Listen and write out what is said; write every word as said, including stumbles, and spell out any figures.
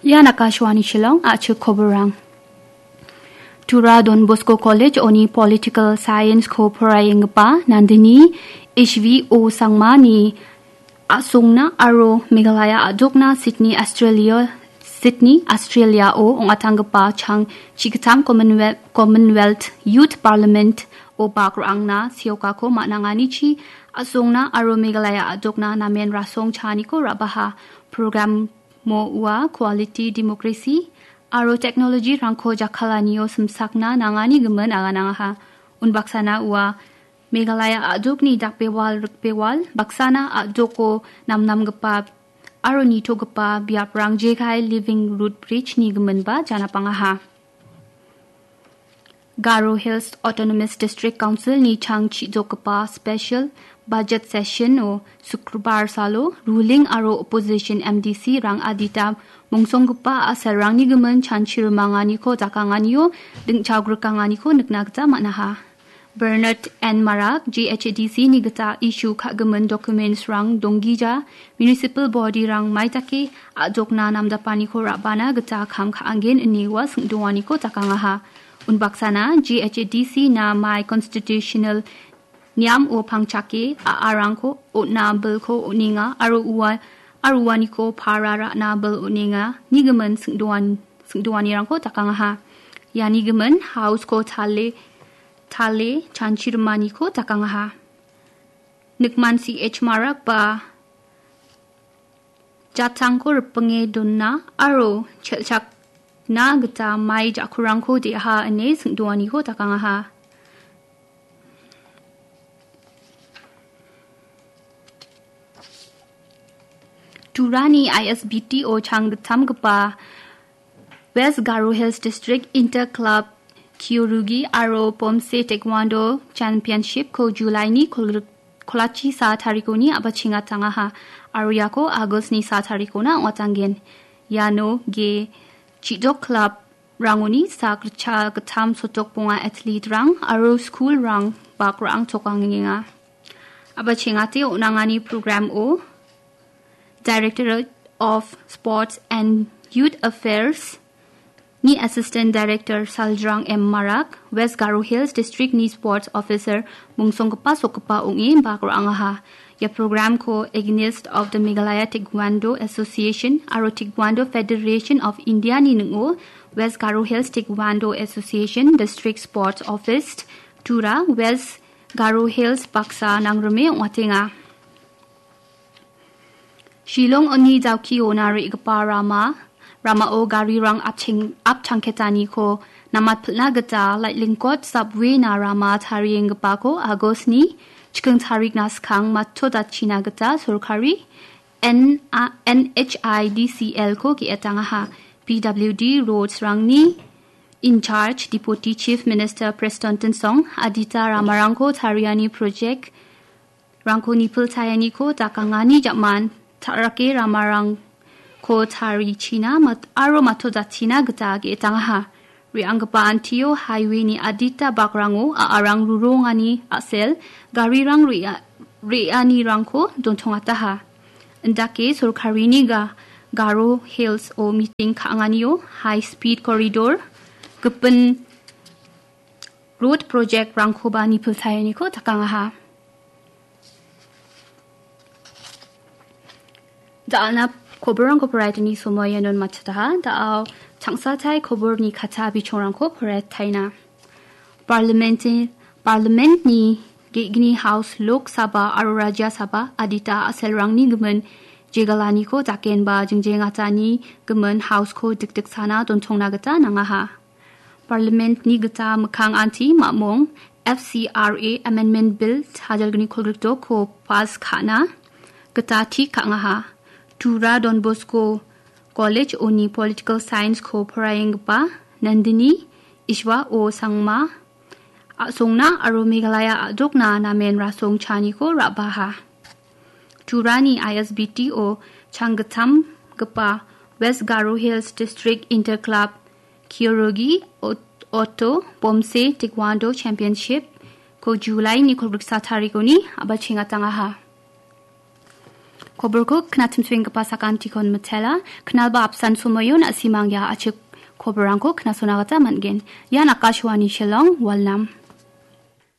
Ian Akashvani Shillong, a·chik koborang. Tura Don Bosco College-oni Political Science-ko poraienggipa Nandini Ishvi O. Sangmani a·songna aro Meghalaya a·dokna Sydney, Australia, Sydney, Australia-o ong·atanggipa chang chigittam Commonwealth, Commonwealth Youth Parliament-o bak ra·angna seokako man·anganichi a·songna aro Meghalaya a·dokna namen rasong chaaniko ra·baha. Program-o ua quality democracy aro technology-rangko jakkalanio simsakna nangani gimin aganangaha. Unbaksana ua Meghalaya a·dokni dakbewal rikbewal baksana a·doko namnamgipa aro nitogipa biaprang jekai Living Root Bridge-ni giminba janapangaha. Garo Hills Autonomous District Council-ni chang chidokgipa special budget session-o Sukrobar salo ruling aro opposition M D C-rang adita mongsonggipa a·selrangni gimin chanchi rimanganiko dakanganio dingchagrikanganiko nikna gita man·aha. Bernard N. Marak, G H A D C-ni gita issue ka·gimin documents-rang donggija, municipal body-rang maitake a·dokna namdapaniko ra·bana gita kam ka·angen ine ua singdoaniko dakangaha. Unbaksana G H A D C-na mai constitutional niam-o pangchake a·arangko on·a bilko on·enga aro ua-, aro uaniko para ra·na bil on·enga nigimin singdoan-, singdoanirangko dakangaha. Iani gimin House-ko tale tale chanchi rimaniko dakangaha. Nikman C H Marak ba jatangko ripinge dona aro chelchakna gita mai ja·kurangko de·aha ine singdoaniko dakangaha. Turani I S B T-o chang gittamgipa West Garo Hills District Inter Club Kyorugi aro Pomse Taekwondo Championship-ko July-ni kolgrik-, kolachi sa tarikoni a·bachengatangaha aro iako August-ni sa tarikona ong·atanggen. Iano ge chidok club-rangoni sak ritcha gittam sotok bonga athlete-rang aro school-rang bak ra·angtokangenga. A·bachengate on·angani program-o Directorate of Sports and Youth Affairs ni Assistant Director Saljrang M Marak, West Garo Hills District ni Sports Officer mongsonggipa sokgipa ong·e bak ra·angaha. Ia program-ko Agonist of the Meghalaya Taekwondo Association aro Taekwondo Federation of India ni ning·o West Garo Hills Taekwondo Association District Sports Office, Tura, West Garo Hills baksa nangrime ong·atenga. Shillong-oni Dawkiona re·gipa rama, ramao garirang apcheng-, apchangketaniko namatpilna gita Laitlingkot subway-na rama tarienggipako August-ni chiking tarikna skang matodachina gita sorkari N-, a-, N H I D C L-ko ge·etangaha. P W D Roads-rangni in charge Deputy Chief Minister Prestone Tynsong adita ramarangko tariani project rangko nipilchaeniko dakangani jam·an ta·rake ramarangko tarichina mat-, aro matodachina gita ge·etangaha. Re·anggipa antio highway-ni adita bakrango a·arang rurongani a·sel garirang re·a-, re·anirangko dontongataha. Indake sorkarini ga-, Garo Hills-o meeting ka·anganio high speed corridor, gipin road project-rangkoba nipilchaeniko dakangaha. Da·alna koborrangko poraitani somoianon matchataha. Da·ao changsatai koborni kata bichongrangko poraitaina. Parliament-, Parliament-ni ge·gni House, Lok Sabha aro Rajya Sabha adita a·selrangni gimin jegalaniko dakenba jingjengatani gimin House-ko dikdiksana dontongna gita nangaha. Parliament-ni gita mikkang anti mamung F C R A Amendment Bill sajalgni kolgrikdokko pass ka·na gita tik ka·angaha. Tura Don Bosco College-oni Political Science-ko poraienggipa Nandini Ishwa O Sangma a·songna aro Meghalaya a·dokna namen rasong chaniko ra·baha. Turani I S B T-o changgittamgipa West Garo Hills District Inter Club Kyorugi Ot-, Otto Bomse Taekwondo Championship-ko July-ni kolgriksa tarikoni a·bachengatangaha. Koborko knatimsuenggipa sakantikon mitela, knalba apsan somoion asimang ia achik koborangko knasona gita man·gen. Ian Akashwani Shillong, Walnam.